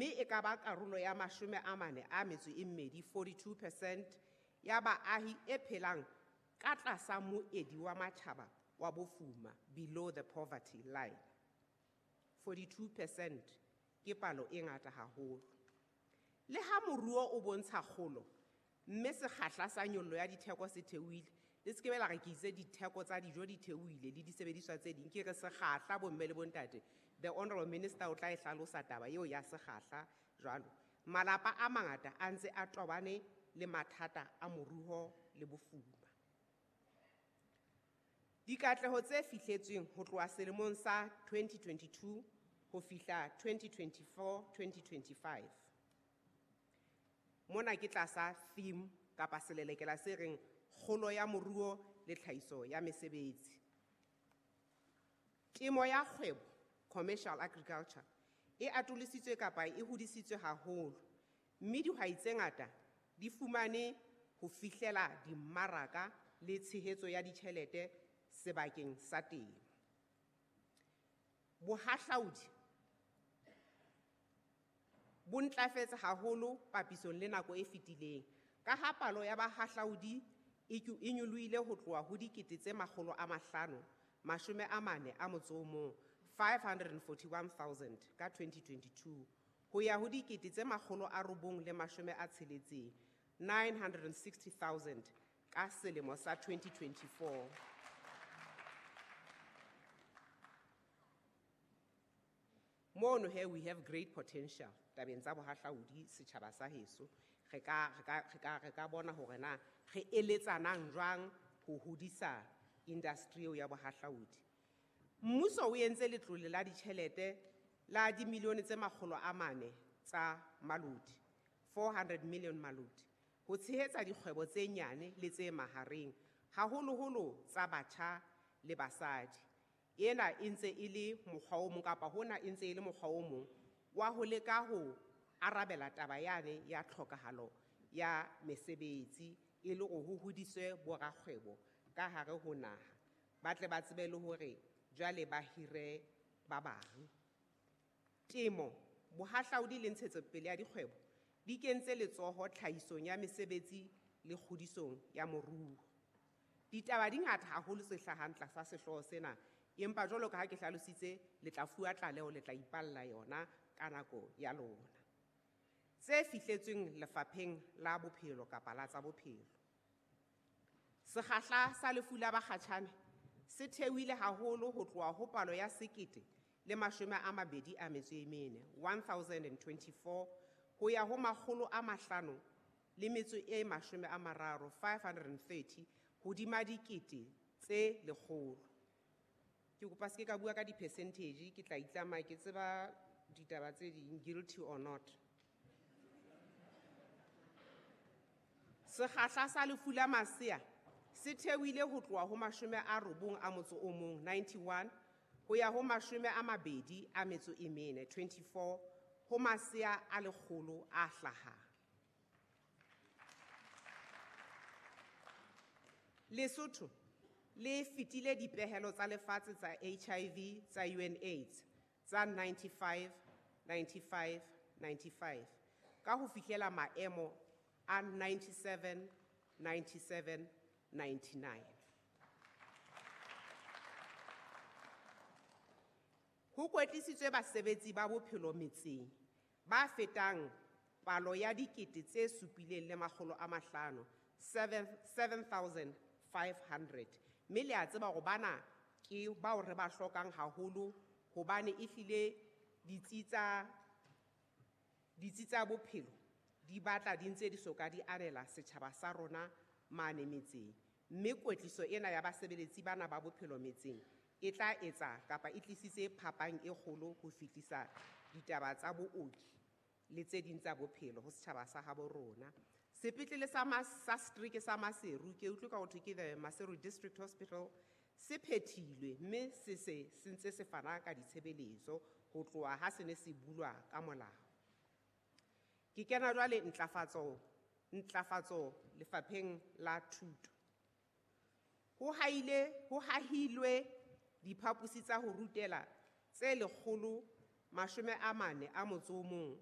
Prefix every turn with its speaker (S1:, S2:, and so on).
S1: Mme e ka ba karolo ya 42, 42% ya baahi e phelang ka tlasa moedi wa matjhaba wa bofuma, below the poverty line. 42% ke palo e ngata haholo. Le ha moruo o bontsha kgolo, mme sekgahla sa nyollo ya ditheko se theohile, le se ke be la re ke itse ditheko tsa dijo di theohile le disebediswa tse ding, ke re sekgahla bomme le bontate. The Honorable Minister o tla e hlalosa taba eo ya sekgahla jwalo. Malapa a mangata a ntse a tobane le mathata a moruo le bofuma. Dikatleho tse fihletsweng ho tloha selemong sa 2022 ho fihla 2024-2025. Mona ke tlasa theme kapa selelekela se reng kgolo ya moruo le tlhahiso ya mesebetsi. Temo ya kgwebo, commercial agriculture, e atolositswe kapa e hodisitswe haholo, mme dihwai tse ngata di fumane ho fihlela dimmaraka le tshehetso ya ditjhelete sebakeng sa temo. Bohahlaudi bo ntlafetse haholo papisong le nako e fetileng, ka ha palo ya bahahlaudi e nyolohile ho tloha ho dikete tse makgolo a mahlano, mashome a mane a motso o mong, 541,000 ka 2022, ho ya ho dikete tse makgolo a robong le mashome a tsheletseng, 960,000 ka selemo sa 2024. Mono here we have great potential tabeng tsa bohahlaudi setjhaba sa heso. Re ka bona hore na re eletsanang jwang ho hodisa industry eo ya bohahlaudi. Mmuso o entse letlole la ditjhelete la dimilione tse makgolo a mane tsa malodi, 400 million malodi, ho tshehetsa dikgwebo tse nyane le tse mahareng, haholoholo tsa batjha le basadi. Ena e ntse e le mokgwa o mong kapa hona e ntse e le mokgwa o mong wa ho leka ho arabela taba yane ya tlhokahalo ya mesebetsi e le hore ho hodiswe borakgwebo ka hare ho naha, ba tle ba tsebe le hore jwale ba hire ba bang. Temo, bohahlaudi le ntshetsopele ya dikgwebo di kentse letsoho tlhahisong ya mesebetsi le kgodisong ya moruo. Ditaba di ngata haholo tse hlahang tlasa sehlooho sena, empa jwalo ka ha ke hlalositse, le tla fuwa tlaleho, le tla ipalla yona ka nako ya lona. Tse fihletsweng lefapheng la bophelo kapa la tsa bophelo. Sekgahla sa lefu la bakgatjhane se theohile haholo ho tloha ho palo ya sekete le mashome a mabedi a metso e mene, 1024, ho ya ho makgolo a mahlano le metso e mashome a mararo, 530, hodima dikete tse lekgolo. Ke kopa se ke ka bua ka di-percentage, ke tla itlama ke tseba ditaba tse ding, guilty or not. Sekgahla sa lefu la masea se theohile ho tloha ho mashome a robong a motso o mong, 91, ho ya ho mashome a mabedi a metso e mene, 24, ho masea a lekgolo a hlahang. Lesotho le fetile dipehelo tsa lefatshe tsa HIV tsa UNAIDS tsa 95, 95, 95 ka ho fihlela maemo a 97, 97, 99. Ho kwetlisitswe basebetsi ba bophelo metseng ba fetang palo ya dikete tse supileng le makgolo a mahlano, 7,500. Mme le a tseba hore bana ke bao re ba hlokang haholo hobane ehlile ditsi tsa bophelo di batla di ntse di soka di anela setjhaba sa rona mane metseng. Mme kwetliso ena ya basebeletsi bana ba bophelo metseng e tla etsa kapa e tlisitse phapang e kgolo ho fihlisa ditaba tsa booki le tse ding tsa bophelo ho setjhaba sa habo rona. Sepetlele sa setereke sa Maseru, ke utlwe ka ho thwe ke the Maseru District Hospital, se phethilwe mme se se se ntse se fana ka ditshebeletso ho tloha ha se ne se bulwa ka molao. Ke kena jwale ntlafatso lefapheng la thuto. Ho hahilwe diphaposi tsa ho rutela tse lekgolo mashome a mane a motso o mong